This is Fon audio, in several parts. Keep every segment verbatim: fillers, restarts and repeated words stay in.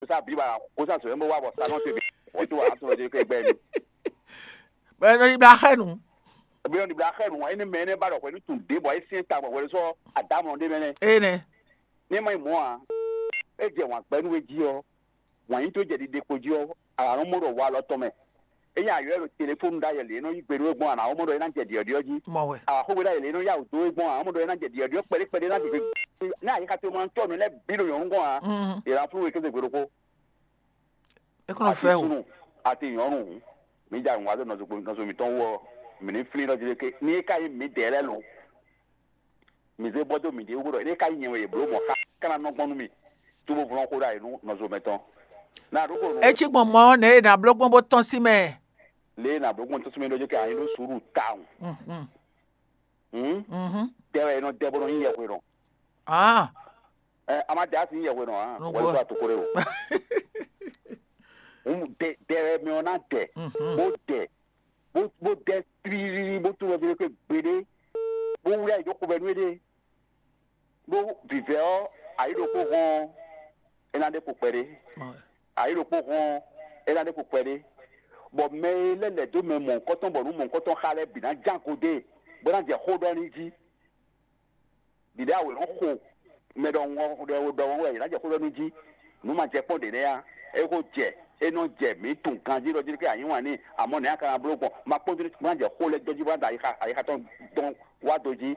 sa bǐ ba kó sa sɔ̌ bó wá bɔ sa nɔ te bǐ wɔ tó wà á tɔn ɖe kɛ gbɛ mi. Bɛ nɔ yi bla xɛ nu. Bɛ nɔ yi bla xɛ nu, ɛni mɛ ɛnɛ ba ɖɔ hwɛ ní tun ɖě bɔ é syɛ́n ta bɔ hwɛ sɔ adamɔ ɖé mɛ nɛ. Ene. Ní ma yi mɔ a, é jɛ wǎn gbɛ nú we jí ɔ, wǎn yí tó jɛ ɖiɖe kpo jí ɔ, a nɔ mɔ ɖɔ wa lɔ tɔn mɛ. É nyí ayɔ ɖo telefónu ɖ'ayɛ lě nɔ yí gbe ɖó é gbɔn a nǎ mɔ ɖɔ é ná jɛ ɖiɔɖiɔ jí. Mɔ wɛ. Axógbe ɖ'ayɛ lě nɔ yá wǔ dó é gbɔn a nǎ mɔ ɖɔ é ná jɛ ɖiɔɖiɔ kpɛɖé kpɛɖé ná ɖiɖe. Ní ayixa ce ma tɔ́ nǔ lɛ́ɛ bǐ ɖo nyɔ̌nu gɔ́n a, Mhm. È nǎ flú we kéze gbe ɖokpó. É kɔn nɔ fɛ o. Atitunu, ati nyɔ̌nu, mǐ ja nǔ wa dó nɔzo nɔzo mǐtɔn wú ɔ, mǐ ní flín ɖɔ jí ɖé ké. Ní é ka nyí mǐdɛɛ lɛ́ɛ lo, mǐ zé bɔ dó mǐɖée wú ɖɔ é ka nyí nyɛ wɛ yě bló mɔ̌ xá ká ná nɔ gbɔn nú mì, cóbó vlɔ́n xó ɖ'ayǐ nú nɔzo mɛtɔn. Ná ɖokpó nú É cí gbɔn mɔ̌ nɛ̌ è nǎ bló gbɔn bó tɔ́n sí mɛ. Lě e nǎ bló gbɔn tɔ́n sí mɛ ɖɔ jɛ kɛ anyí ɖó suúlu tawun. Mhm. Hǔn Mhm. Tɛ wɛ è nɔ dɛ bó nɔ nyí yɛhwe nɔ. Ah, Ɛ, a ma dɛ asi nyí yɛhwe nɔ ǎ, Nɔ wɛ gbɔ. Sɔ atokore o. Hǔn dɛ dɛ wɛ mɛ ɔ́ ná dɛ, Mhm. Bó dɛ, bó bó dɛ tlílí bó tunwun wɛ gbeɖé, bó wlí ayǐ dó xovɛ́ nú éɖée. Bó vǐvɛ́ ɔ́, ayǐ ɖokpó hɔn ɔ́, é ná ɖe kpo kpɛɖé. Ayǐ ɖokpó hɔn ɔ́, é ná ɖe kpo kpɛɖé. Bɔ mɛ e lɛ́ lɛ̌ dó mɛ mɔ̌hunkɔtɔn bɔ nǔ mɔ̌hunkɔtɔn xa lɛ́ɛ bǐ ná ján godé, bó ná jɛ xó ɖɔ n'i jí. Ɖiɖe awe nɔ xo mɛ ɖɔhun ɔ́ ɖɔ ɖɔhun wɛ yě ná jɛ xó ɖɔ n'i jí. Nǔ ma jɛ kpɔ́n ɖě nɛ́ ǎ. É xo jɛ, é nɔ jɛ mǐ tunwun ganjí ɖɔ jí ké anyí wǎn n'i, amɔ̌ nɛ̌ a ka ná bló gbɔn? Ma kpɔ́n jí bó ná jɛ xó lɛ́ɛ jɔ jí bó ná da ayixa ayixa tɔn dɔn wá do jí.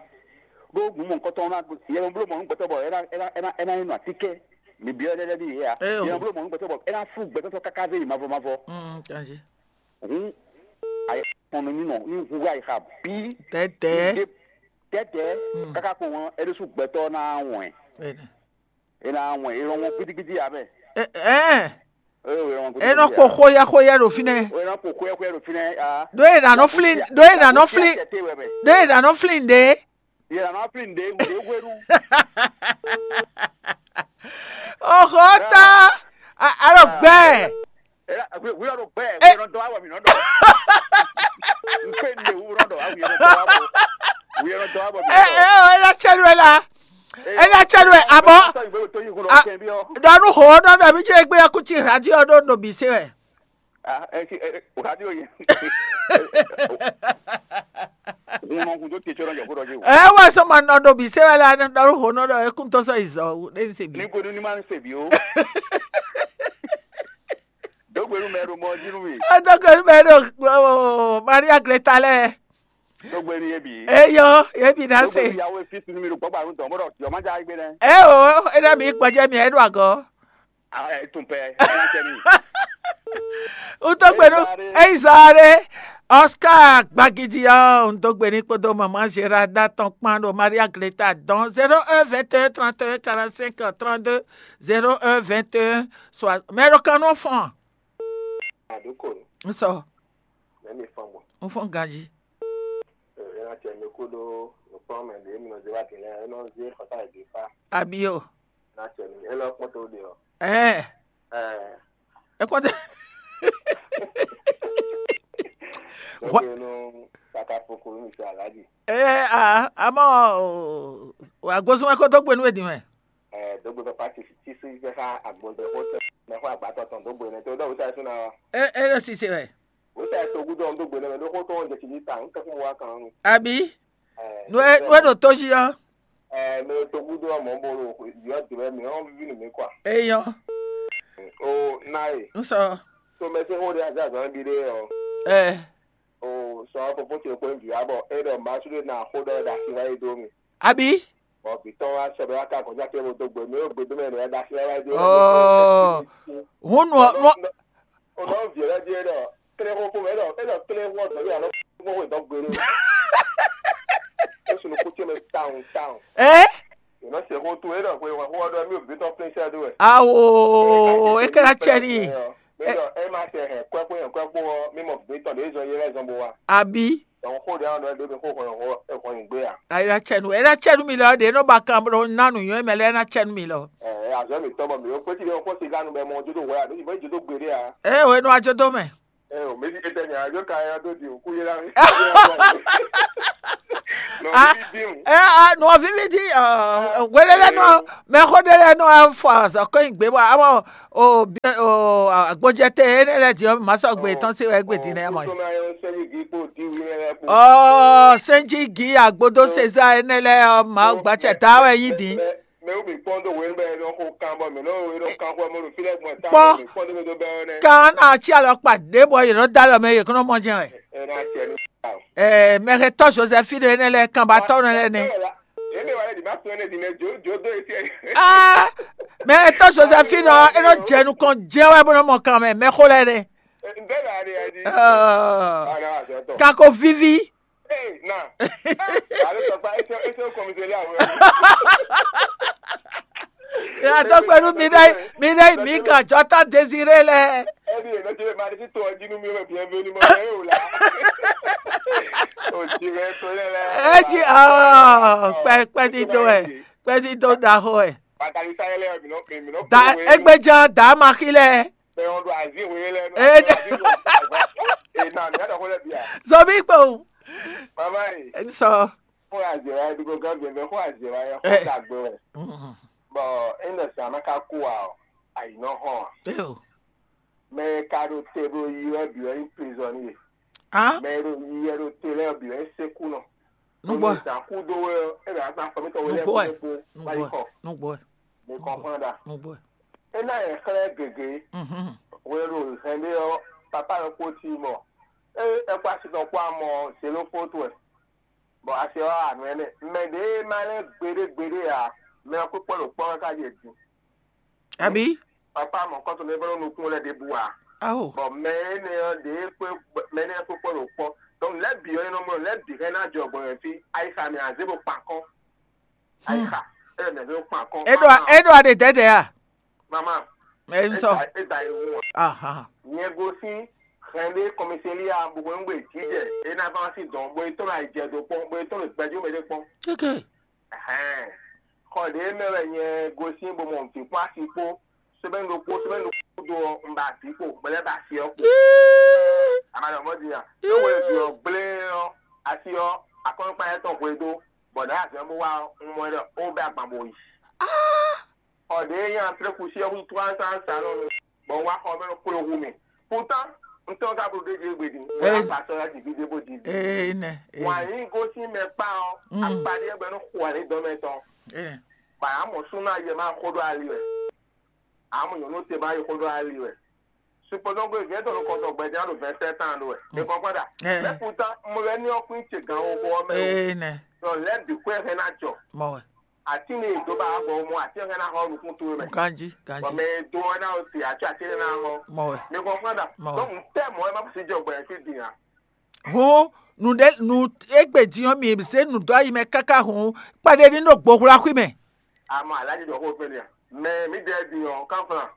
Ɖó nǔ mɔ̌hunkɔtɔn ɔ́ ná yɛ nɔ bló mɔ nú gbɛtɔ́ bɔ é ná é ná é ná é ná nyí nɔ atínkɛ́. Mǐ byɔ́ énɛ́ lɛ́ɛ ɖíe ǎ. Ée o. Yɛ nɔ bló mɔ nú gbɛtɔ́ bɔ é ná sú gbɛtɔ́ káká zé yi mavɔ mavɔ. Mm, kanjí. Hǔn ayixɔnɔ ní nɔ ní hu ayixa bǐ. Tɛtɛ. Ní ɖe tɛtɛ. Mm. Káká kpo ŋɔ é ɖésú gbɛtɔ́ ná wɛn. Bẹ́ẹ̀ni. É ná wɛn é nɔ wɛn gidigidi ǎ mɛ. Ɛ ɛ. É nɔ wɛn É nɔ gidigidi kpo ǎ. Xóyá xóyá ɖo fínɛ́. É nɔ kpo xóyá xóyá ɖo fínɛ́ ǎ. Ɖó è nǎ nɔ flín, ɖó è nǎ nɔ flín, ɖó è nǎ nɔ flín ɖě. Yɛ nɔ flin ɖe ɖe hwenu. Oxo ta. Alo gbɛ. Wíwá ɖo gbɛ. Wíwá ɖo gbɛ. Wíwá ɖo dɔ awɔ mi nɔ dɔ. N pe n de wúrɔ dɔ awu yɛ dɔ awɔ. Wíwá ɖo dɔ awɔ mi. Ɛ ɛ ɛ ɛ la cɛ lu ɛ la. Ɛ la cɛ lu ɛ abɔ. Dɔnu ho nɔ dɔ mi ce gbe ya kuti radio ɖo no bi se wɛ. Ah, ɛ si ɛ radio yɛ. Hun nɔ hun tó te tsɔ nɔ yɛ ko dɔ ji o. Ɛ wɔ sɔ ma nɔ do bi se wɛ la nɔ dɔ ho nɔ dɔ ekun to sɔ izɔ ne se bi. Ni ko ni ma se bi o. Dɔgbɛnu mɛ ɖo mɔ jí nú mi. Dɔgbɛnu mɛ ɖo Maria Greta lɛ. Dɔgbɛnu yɛ bi. Eyɔ yɛ bi na se. Dɔgbɛnu yawo efi sunu mi ɖo gbɔgba nu tɔn bɔdɔ yɔ ma ja egbe nɛ. Ɛ o ena mi gbɔjɛ mi ɛ ɖo agɔ. Ah, ɛ tun pɛ ɛ tun pɛ mi. Utɔgbɛnu Ezare. Ezare. Oscar Gbagidi ɔ, un dó gbe ní kpódó maman Gerarda tɔn kpán ɖo Maria Greta dɔn zéro un vingt et un trente et un quarante-cinq trente-deux, zéro un vingt et un soixante. Mɛ ɖo kan nɔ fɔn. Àdúkò ni, N sɔ, mẹ́mí fɔn bọ̀. N fɔn ganji. Ẹ ẹ na tẹ mi kú ɖó nukpɔn mɛ ɖě mi nɔ zé wá din lɛ, ẹ nɔ zé xɔta yě fa. Abi o. Na tẹ mi, ẹ lọ kpɔn tó ɖe ɔ. Ɛ. Ɛ. Ẹ kpɔn tɛ. Dɔgbe nu kaka foko mi sɛ alaji. Ɛ a amɔ o agbósúnmọ́ kó tó gbénú èdè mɛ. Ɛ dɔgbe papa ti ti si jẹ ká agbɔnjɛ kó tẹ mɛ kó agbátɔ tɔn dɔgbe nɛ tó dɔgbe sáré súná wa. Ɛ ɛ lọ sise wɛ. Wota togudo ɔn dó gbe nɛ mɛ ɖó xó tɔn jɛ tili ta n kɛkun wa kan nu. Abi. Ɛ, nu e nu e ɖo tó jí ɔ. Ɛ mɛ togudo ɔn mɔ bo ɖo yɔ dɛmɛ mi ɔn vivi nu mi kɔ. Eyɔ. O na ye. N sɔ. To mɛ se xó ɖe azazan bi ɖe ɔ. Ɛ. O sɔ fofo ce kpó nvi abɔ e ɖɔ ma su ɖe na xó ɖɔ ɖe asi wa yi do mi. Abi. Bɔ bi tɔn wa sɔ ɖe wa ka kɔjá ke bo do gbe mi o gbe do mɛ ɖe wa ɖe asi wa yi do. Ɔ. Hun nu nu. O nɔ vi lɛ di e ɖɔ kle xo xo mɛ e ɖɔ e ɖɔ kle xo ɔdɔ yi alɔ xo xo dɔ gbe ɖo. E sunu kutse mɛ tawun tawun. Ɛ. E nɔ se xo to e ɖɔ xo xo ɔdɔ mi o bi tɔ plɛn sɛ do wɛ. Awo e kɛra cɛ ni. E ɖɔ e ma se hɛ kwɛ kpo hɛ kwɛ kpo ɔ mi mɔ bi tɔ ɖe zɔn ye lɛ zɔn bo wa. Abi. Dɔnku xo ɖe ɔn ɖɔ ɖe mi xo xɔ xɔ xɔ nyi gbe a. Ayi la cɛ nu e la cɛ nu mi lɔ ɖe nɔ ba kan blo na nu nyɔ mɛ lɛ na cɛ nu mi lɔ. Ɛ azɔ mi tɔ bɔ mi o kpeti ɖe o kpɔsi ganu bɛ mɔ jodo wɛ a ɖo yi bɔ jodo gbe ɖe a. Ɛ o enɔ ajodo mɛ. Ɛ o mesi etɛ nya yɔ ka ya do di o ku yɛ la mi. Ah, ɛ a nɔ vivi di, wele lɛ nɔ mɛ xo ɖe lɛ nɔ fɔ azɔkɔ yin gbe bɔ amɔ o bi o agbojɛte ene lɛ di ma sɔgbe tɔn se wɛ gbe di nɛ mɔ. Ɔ sɛnji gi agbodo seza ene lɛ ɔ ma gbatsɛ da wɛ yi di. Mɛ wo mi kpɔn do wɛn bɛ nɔ xo kan bɔ mɛ nɔ wo nɔ kan xɔ mɔ fi lɛ gbɔn ta. Kpɔ mi kpɔn do do bɛ nɛ. Kan na tsi alɔ kpa ɖe bɔ yɛ nɔ da lɔ mɛ yɛ kɔnɔ mɔ jɛ wɛ. Ɛ na tse ni. Ɛɛ mɛ xɛ tɔ Joseph ɖe ene lɛ kan ba tɔ ne lɛ ne. Eme wa lɛ di ma sɔn ne di ne jo jo do esi. Aa mɛ xɛ tɔ Joseph nɔ e nɔ jɛ nukɔn jɛ wɛ bɔ nɔ mɔ kan mɛ mɛ xo lɛ ne. N bɛ la de ya di. Aa Ana wa sɛ tɔ. Kako vivi. Ee na. Ale sɔ pa ese ese o kɔmi seli awɛ. Yàtọ̀ pẹ̀lú mi náà mi náà mi kàn jọ tán Désiré lẹ. Ẹni èlò ti lè máa di sí tó ọjí nú mi rẹ̀ bí ẹbí onímọ̀ ẹ̀ yóò la. Òjì rẹ̀ tó yẹ lẹ. Ẹ jí pẹpẹ dídó ẹ pẹ dídó dahó ẹ. Pàtàkì sáyẹlẹ mi náà mi náà. Da egbejan da ma xí lẹ. Bẹ́ẹ̀ wọ́n do àzí ìwé lẹ́nu. Ẹ Ẹ náà mi á dọ̀ kó lẹ́bi à. Sọ bí pé o. Màmá yìí. Ẹ sọ. Kó àzè wa ẹbí kó gán bẹ̀rẹ̀ kó àzè wa yẹ kó dàgbé rẹ̀. Bọ̀ ẹ nọ sàn má ká kú wa ọ̀ àyìnà hàn. Ẹ o. Mɛ e ka ɖo te ɖo yi wɛ bǐ wɛ nyí prizɔnníe. Á Mɛ e ɖo yi wɛ ɖo te lɛ́ɛ bǐ wɛ nyí sékúnɔ. Nú gbɔ ɛ. Zǎn kú dó wɛ ɔ́, é ɖo azán fɔ mítɔn wé Nú lɛ́ɛ gbɔ ɛ. kú dó kpó Nú wá yi gbɔ ɛ. kɔ. Nú gbɔ ɛ. Mi kɔn xlán ɖa. Nú gbɔ ɛ. É ná yɛ xlɛ́ gěgé. Mhm. Hwenu e ɖo hɛn ɖé ɔ́, papá ɔ́ kpó cí mɔ. É ɛ kpó asi tɔn kpó amɔ zěló fótó ɛ. Bɔ asi ɔ́ anu ɛnɛ. Mɛ ɖě e ma lɛ́ gbeɖé gbeɖé ǎ, mɛ ɔ́ kpékpɔ́ ɖo kpɔ́ káká ɖíe din. Abǐ? Papa mɔ kɔ́tɔn ɖé vɔ́ nukún lɛ́ɛ ɖěbǔ ǎ. Aho. Bɔ mɛ énɛ́ ɔ́ ɖě kpé mɛ énɛ́ kpé kpɔ́ ɖo kpɔ́. Donc lɛ̌ bǐ ɔ́ é nɔ mlɔ́ lɛ̌ bǐ hɛn ná jɔ gbɔn fí. Ayixa mɛ azé bo kpan kɔ́n. Ayixa é mɛ zé bo kpan kɔ́n. É ɖo é ɖo aɖe dɛ̌dɛ̌ a? Mama. Ɛ ń sɔ. É da é wú wọn. Ahan. Nyɛ gosín hɛn ɖé kɔmísélíà gbogbo ń gbé jíjɛ é ná fán sí dɔn bó é tɔn ayijɛ dó kpɔ́n bó é tɔn lè gbɛjú mɛ ɖé kpɔ́n. Kéke. Ɛhɛn. Xɔ ɖě mɛ wɛ nyɛ gosín bó mɔ vǐ kpó asi kpó sɛbɛn ɖokpó sɛbɛn ɖokpó do ɔ un ba vǐ kpo bɔ lɛ ba asi ɔ kpo. Ama ɖɔ mɔ din a. Ɖó wɛ vǐ ɔ gblé ɔ asi ɔ akɔnukpa yɛ tɔn hwe dó bɔ ɖe azɛ bó wá ɔ un mɔ ɖɔ ó bɛ agban bó yi. Xɔ ɖě nyɛ antrɛkusi ɔ kún tró ansa ansa nɔ nu bɔ un wá xɔ mɛ nɔ kpló hu mì. Pourtant un tɔn ka blo ɖé ɖíe gbe din. Wɛ Ee. Apa sɔ ya ɖi vi ɖé bó ɖi vi. Ee nɛ. Ee. Wǎn yí gosín mɛ kpá ɔ Mm. Akpaɖí ɛgbɛ nɔ xo ali dɔn mɛ tɔn. Ee. Bana mɔ súnú ayɛ má xó ɖó ali wɛ. Amɔ nyɔ̌nu te má yi xó ɖó ali wɛ. Supposons que vient de le compte gbɛdɛ ɖo vingt sept ans ɖó wɛ. Mm. E kɔn kpɔ́ ɖa. Ee. Mais pourtant mo lɛ ní ɔkùnrin ce gan wo bɔ mɛ o. Ee nɛ. Donc lɛ bi kɔɛ hɛn ná jɔ. Mɔ wɛ. Àti ní ìdó bá gbɔ mɔ àti hɛn ná xɔ nukún tó mɛ. Ganji ganji. Bɔn mɛ do ɔna o ti àti àti hɛn ná xɔ. Mɔ wɛ. Mi kɔn kpɔ́ ɖa. Mɔ wɛ. Donc n tɛ mɔ ɛ má fi jɔ gbɛ fi din a. Hɔn nu ɖe nu egbe din ɔ mi se nu dɔ ayi mɛ kaka hɔn kpaɖe ní ɖo gbohla xwi mɛ. Àmọ́ alájí dɔ kó fẹ́ ni à. Mɛ mi dɛ din ɔ kánflan.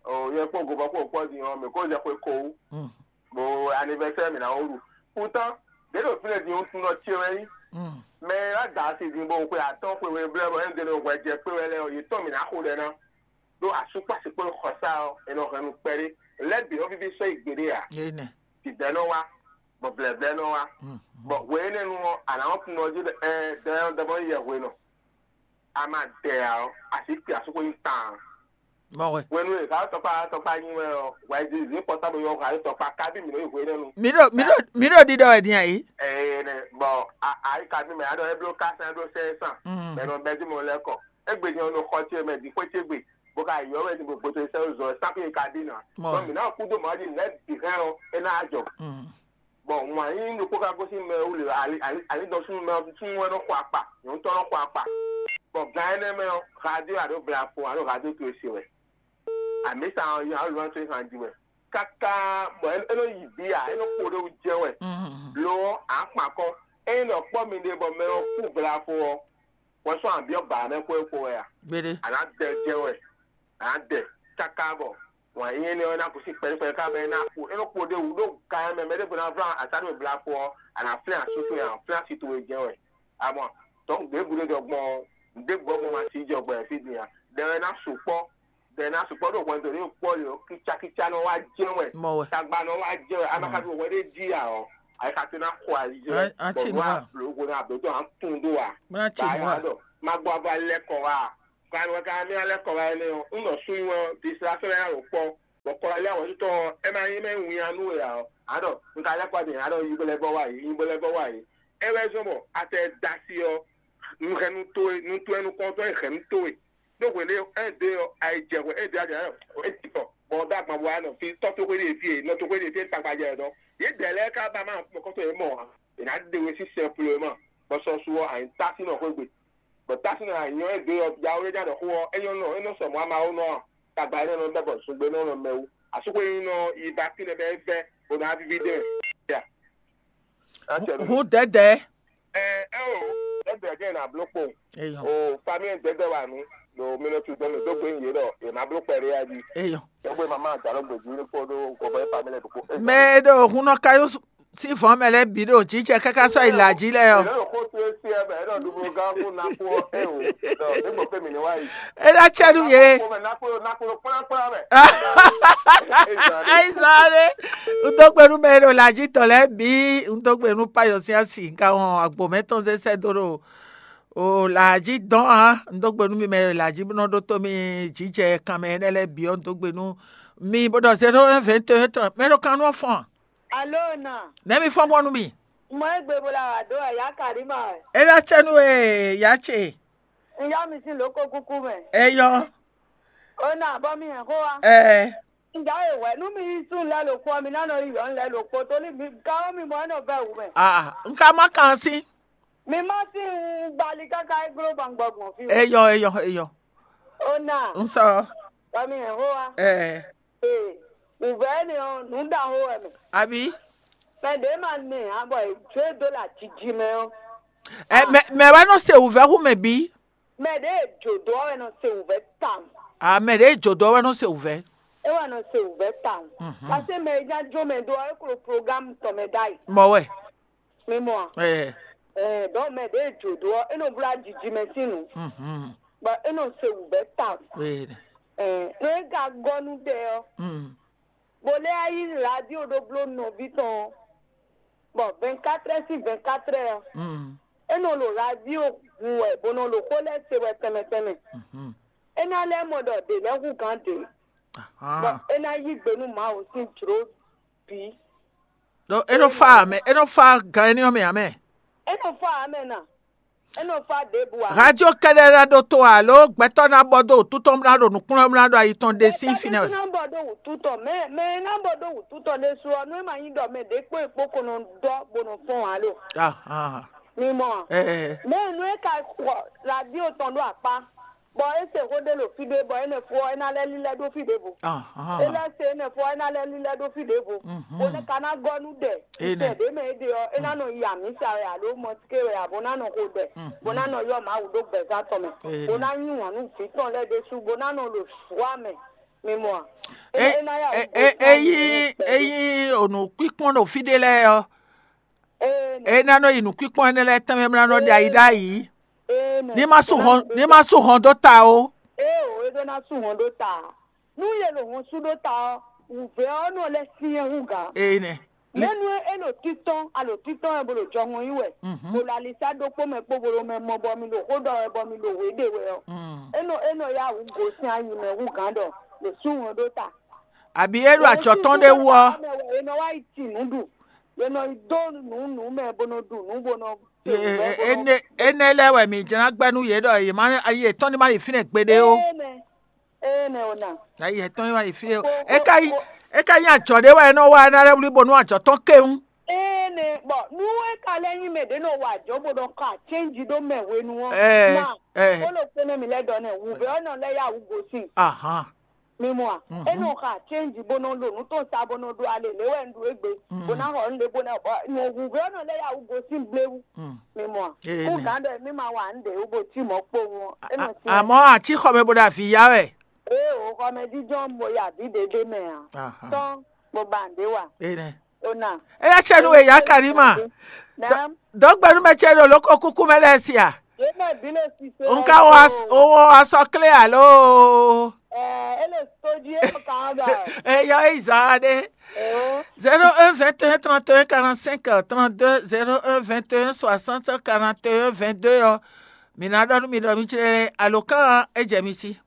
Ò yẹ kpó gobɔ kó kpɔ din ɔ mɛ kó lẹ xwe kó wú. Hmm. Bo anniversaire mi na wó ɖu. Pourtant ɖě ɖo fínɛ́ din wútu nɔ ce wɛ nyí. Hmm. Mɛ e wá da asi din bó xwe atɔ́ xwe we blɛ́ bɔ é ɖe hwɛ jɛ kpé wɛ lɛ́ɛ ɔ yě tɔn mi ná xo ɖɛ ná. Ɖó asúkpásí kpó xɔsá ɔ è nɔ hɛn nú kpɛɖé. Lɛ́ bǐ nɔ víví sɔ́ yi gbeɖé ǎ. Yé nɛ. Dǐdɛ́ nɔ wá, bɔ vlɛ̌vlɛ́ nɔ wá. Hmm. Bɔ hwe énɛ́ nu ɔ́, a nǎ nɔ tunwun ɔ́ jí ɖɔ ɛɛ dɔnyɔ́dɔmɔ yi yɛ hwe nɔ. A ma dɛ ǎ ɔ́, a sǐ kpi asúkpó nyi tawun. Mɔ wɛ. Hwenu e hǎ tɔkpá tɔkpá nyi wɛ ɔ́, wɛ zǐzí pɔtábl yɔ hǎ tɔkpá kábí mǐ nɔ yi hwe énɛ́ nu. Mi ɖo mi ɖo mi ɖo ɖiɖɔ wɛ din ayi. Ɛɛ nɛ bɔ a a yi kábí mɛ a ɖɔ é bló ká sɛn é bló sɛn é sàn. Mm. Mɛ nɔ bɛ́ dí mɔ lɛ́ kɔ. Égbé din ɔ́ nɔ xɔ ce mɛ din xwé ce gbe. Bó ka yɔ wɛ din gbogbo to sɛ́ zɔ é sáfì é kábí nǎ. Mɔ. Bɔ mǐ ná kú dó mɔ̌ ɔ́ jí lɛ̌ bǐ hɛn ɔ́ é ná jɔ. Mm. Bɔ wǎn yíyí ɖokpó ka gosín mɛ wú lě ali ali ali dɔn súnnu mɛ súnnu wɛ nɔ xɔ akpa nyɔ̌nu tɔn nɔ xɔ akpa. Bɔ gan énɛ́ mɛ ɔ́, radio alo vlafo alo radio to e se wɛ. Amǐsa ɔ́ yɔ alo lɔn to e han ji wɛ. Káká bɔ é nɔ yi bǐ a é nɔ kpo ɖé wú jɛ wɛ. Lo ɔ́, à kpan kɔn. Ényí ɖɔ kpɔ́ mi ɖe bɔ mɛ ɔ́ kú vlafo ɔ́, wɛ sɔ́ abyɔ́ ba mɛ xwé xo wɛ a? Gbeɖé. À nǎ dɛ jɛ wɛ, à nǎ dɛ káká bɔ wǎn yíyí énɛ́ ɔ́ ná gosín kpɛɖékpɛɖé ká bɔ é ná kpo é nɔ kpo ɖé wú ɖó gan mɛ mɛ ɖěvo ná vlan asá ɖo blaxo ɔ́, a nǎ flɛ́n asú towe a nǎ flɛ́n asi towe jɛ́n wɛ. Amɔ tɔ̌ ɖěbǔ ɖé jɔ gbɔn ɔ́, ɖěbǔ ɔ́ gbɔn ma sí jɔ gbɔn fí din a? Ɖɛ wɛ ná sukpɔ́, ɖɛ ná sukpɔ́ ɖo hwɛndo ní kpɔ́ lě ɔ́, kícákícá nɔ wá jɛ́n wɛ, Mɔ wɛ. Tagba nɔ wá jɛ́n wɛ, a ma ka ɖo hwɛ ɖé jí ǎ ɔ́, Ayika ce ná xo ayi jɛ. Bɔ nú ablogo ná ablo tɔn á tún dó wa. Bá yà dɔ má gbɔ ava lɛ kɔ wa. Kan wɛ kan mi alɛ kɔ wa ɛnɛ o. N dɔ sun wɛ distraction ya o kpɔ. Bɔ kɔ lɛ wɛ tɔ ɛ ma yi mɛ win anu ya o. Adɔ n ka lɛ kɔ de adɔ yi bɛlɛ bɔ wa yi, yi bɛlɛ bɔ wa yi. Ɛ wɛ zɔn bɔ atɛ dasi ɔ. Nuhɛnu towe, nutoɛnukɔntɔn e hɛnu towe. Ɖó hwenu e un ɖe ɔ́, ayijɛhwɛ e ɖe ajɛ ɔ́, e ti kɔ, bɔ un ɖó agban bɔ wá nɔ fí, tɔ́ toxo ɖe fí e, nɔ toxo ɖe fí e tagba jɛ ɛ dɔn. Yědɛɛ lɛ́ɛ ka ba ma mɔkɔtɔn e mɔ ǎ, è nǎ ɖe we sín sɛnplɔ́mɔ, bɔ sɔ́ su ɔ́, a nǐ tá sín nɔ xwé gbe. Bɔ tá sín nɔ a nyɔ́ e ɖe ɔ́, yawó e nya ɖɔ xó ɔ́, é nyɔ́ nɔ, é nɔ sɔ mɔ̌ ama ó nɔ ǎ. Tagba énɛ́ nɔ bɛ́ bɔ zungbe nɔ nɔ mɛ wú. Asúxwé nyí nɔ yi ba fínɛ́ bɛ́ é vɛ́, bó ná víví ɖe mɛ. Hǔn dɛ̌dɛ̌. Ɛ ɛ o, ɛ bɛ jɛ na blo kpo. Eyɔ. O famille dɛdɛ wa nu. Lo mi nɔ tu dɔn mi do gbe ye dɔ e ma blo kpɛ re ya di. Eyɔ. Dɔgbe mama dalo gbe ji ko do ko bɛ famille do ko. Mɛ e ɖo hun nɔ ka yó sí vɔn mɛ lɛ bǐ ɖo jijɛ káká sɔ yi la ji lɛ ɔ. Lo ko tu e si ɛ bɛ e dɔ dublo gan ko na ko e o. Dɔ e gbɔ pe mi ni wa yi. E ɖo acɛ nu ye. Ko mɛ na ko na ko kpla kpla bɛ. Ayi sáré. Un dó gbe nú mɛ e ɖo la ji tɔn lɛ́ɛ bǐ. Un dó gbe nú payɔ sín asi. Un ka wɔn agbo mɛ tɔn zé sɛ́ dó ɖo o lǎ jí dɔn ǎ. Un dó gbe nú mi mɛ e lǎ jí bó nɔ ɖótó mi jǐjɛ kanmɛ énɛ́ lɛ́ɛ bǐ ɔ́, un dó gbe nú mi bó ɖɔ zéro un vɛ̌ tɔn mɛ ɖo kan nú ɔ́ fɔ́n. Alo na. Nɛ̌ mi fɔ́n gbɔn nú mi? Mɔ e gbe bo la wà dó ɛ yá Karima wɛ. É ná cɛ nú e yá ce. Un yá mi sín lǒ ko kúkú mɛ. Eyɔ. Ó na bɔ mi hɛn xó wa. Ɛɛ. Ǹjẹ́ èwẹ́ nú mi yí sún lɛ lǒ kpó mi ná nɔ yí yɔ̌n lɛ lǒ kpó tó ní mi gán ó mi mɔ ɛ nɔ vɛ wǔ mɛ. Ah, un ka má kan sí. Mi má sí un gbali káká é gló gbɔngbɔgbɔn fí. Eyɔ, eyɔ, eyɔ. Ó na. Un sɔ. Bɔ mi hɛn xó wa. Ɛɛ. Ee, wǔvɛ́ énɛ́ ɔ́, nǔ ɖaxó wɛ mɛ. Àbí? Mɛ ɖě ma nɛ ǎ bɔ è jó e dó lɛ aciji mɛ ɔ́. Ɛ mɛ mɛ wɛ nɔ se wǔvɛ́ hú mɛ bǐ. Mɛ ɖě e jǒ dó ɔ́ wɛ nɔ se wǔvɛ́ tawun. A mɛ ɖě e jǒ dó ɔ́ wɛ nɔ se wǔvɛ́. É wɛ nɔ se wǔvɛ́ tawun. Mhm. Paseke mɛ e nya jó mɛ dó ɔ́, é klo programme tɔn mɛ ɖ'ayǐ. Mɔ wɛ. Mi mɔ a? Ɛɛ. Ɛɛ, donc mɛ ɖě e jǒ dó ɔ́, é nɔ bló ajiji mɛ sín nǔ. Mhm. Bɔ é nɔ se wǔvɛ́ tawun. Ɛɛ. Ɛɛ, nú é ka gɔ́ nú ɖɛ ɔ́, Mm. Bó lɛ́ yí radio ɖó bló nɔví tɔn, bɔ vingt-quatre heures sur vingt-quatre heures ɔ́, Mm. É nɔ ɖo radio hun wɛ, bó nɔ ɖo xó lɛ́ɛ se wɛ tɛnmɛ tɛnmɛ. Mhm. É ná lɛ́ mɔ ɖɔ ɖě lɛ́ɛ hú gǎn ɖě, bɔ Ahan. É ná yí gbe nú Mawu sín jlǒ bǐ. Ɖó é nɔ fa amɛ, é nɔ fa gan énɛ́ ɔ́ mɛ ǎ mɛ. É nɔ fa amɛ na. É nɔ fa ɖěbǔ ǎ. Radio kɛ́ɖɛ́ ná ɖótó alo gbɛtɔ́ ná bɔ dó wǔtú tɔn bó ná ɖo nǔkplɔ́n bó ná ɖo ayi tɔn ɖe sín fínɛ́ wɛ. Ná bɔ dó wǔtú tɔn, mɛ mɛ e ná bɔ dó wǔtú tɔn ɖésú ɔ́, nú é ma nyí ɖɔ mɛ ɖě kpó è kpó ko nɔ dɔ́ bó nɔ fɔ́n ǎ lo. Ahan. Mi mɔ a? Ɛɛ. Mɛ nú é ka xɔ radio tɔn ɖó akpá, bɔ é se xó ɖé ɖo fí ɖé, bɔ énɛ́ fó ɔ́, é ná lɛ́ lílɛ́ ɖó fí ɖěvo. Ahan. É lɛ́ se énɛ́ fó ɔ́, é ná lɛ́ lílɛ́ ɖó fí ɖěvo. Mhm. Bó ná ka ná gɔ́ nú ɖɛ. Énɛ́. Sɛ ɖě mɛ é ɖe ɔ́, é ná nɔ yi amǐsa wɛ alo mɔtíké wɛ abo ná nɔ xo ɖɛ, bó ná nɔ ylɔ́ Mawu ɖó gbɛ̌zán tɔn mɛ, bó ná yí wǎn nú vǐ tɔn lɛ́ɛ ɖésú, bó ná nɔ ɖo vǔ ǎ mɛ. Mi mɔ a? É ná yá wǔ gosín ényí ényí onǔkpínkpɔ́n ɖo fí ɖé lɛ́ɛ ɔ́, é ná nɔ yi nǔkpínkpɔ́n énɛ́ lɛ́ɛ tɛnmɛ bó ná nɔ ɖe ayi ɖ'ayǐ. Ní má sú hɔn ní má sú hɔn dó ta ó. Éeǒ, é ɖó ná sú hɔn ɖó ta. Nú yě ɖo hɔn sú ɖó ta ɔ́, wǔvɛ́ ɔ́ nɔ lɛ́ syɛ́n hú gǎ. Énɛ́. Mɛ̌nu e é ɖo títɔ́n, a ɖo títɔ́n wɛ bó ɖo jɔhɔn yí wɛ, bó ɖo alisá ɖokpó mɛ kpó bó ɖo mɛ mɔ bɔ mi ɖo xó ɖɔ wɛ bɔ mi ɖo wě ɖe wɛ ɔ́, é nɔ é nɔ yá wǔ gosín ayi mɛ hú gǎn ɖɔ è sú hɔn ɖó ta. Àbí é ɖo acɔ̌ tɔn ɖé wú ɔ́? È nɔ wá yi ti nǔ ɖu, è nɔ yi dó nǔ nǔ mɛ bó nɔ ɖu nǔ bó nɔ. Énɛ́ lɛ́ɛ wɛ mǐ jlá gbɛ́ nú yě ɖɔ yě má yě tɔn ní má yi fínɛ́ gbeɖé ó. Énɛ́, énɛ́ ɔ́ ná. Ayi etɔn yi wá yi fí ɖé o. É ka nyí é ka nyí ajɔ ɖé wɛ é nɔ wa é ná lɛ́ wlí bónú ajɔ tɔn kéwún. Énɛ́ bɔ nú é ka lɛ́ nyí mɛ ɖě nɔ wa ajɔ bó nɔ xɔ acɛ́nji ɖó mɛ hwenu ɔ́, Ɛɛ, na ɛɛ. Kó ɖo kpé nú mi lɛ́ ɖɔ nɛ́ wǔvɛ́ ɔ́ nɔ lɛ́ yá wǔ gosín. Ahan. Mi mɔ a? É nɔ xɔ acɛ́nji bó nɔ ɖo nǔ tɔn sa bó nɔ ɖó alě lě wɛ un ɖu égbé, bó ná xɔ nǔɖé bó ná bɔ wǔvɛ́ ɔ́ nɔ lɛ́ yá wǔ gosín bléwú. Mi mɔ a? Kú gǎn ɖɔ mí ma wa nǔɖé wú bó cí mɔ̌ kpowun ɔ́, é nɔ syɛ́n. Àmọ́ àti xɔmɛ bó ɖo avǐ yá wɛ. Ée wǒ xɔmɛ jínjɔ́n bo yi avǐ ɖě ɖé mɛ ǎ. Tɔ́n bó ba nǔɖé wa. Énɛ́. Ó nà. Éyá cɛ nú we yá Karima. Dɔ̌gbɛ́númɛ ce ɖo lǒ ko kúkú mɛ lɛ́ɛ sia. Yě mɛ bǐ le sise. Nka wɔ asɔ klé alo. Ɛ é le sójí é nɔ kàn án ba. Eyɔ eyi zan ɖe. Eo. Zéro un vingt et un trente et un quarante-cinq trente-deux, zéro un vingt et un soixante quarante et un vingt-deux ɔ́, mi ná ɖɔ nú mi ɖɔ mì jlɛ́ alǒkan ɔ́ é jɛ mi sí.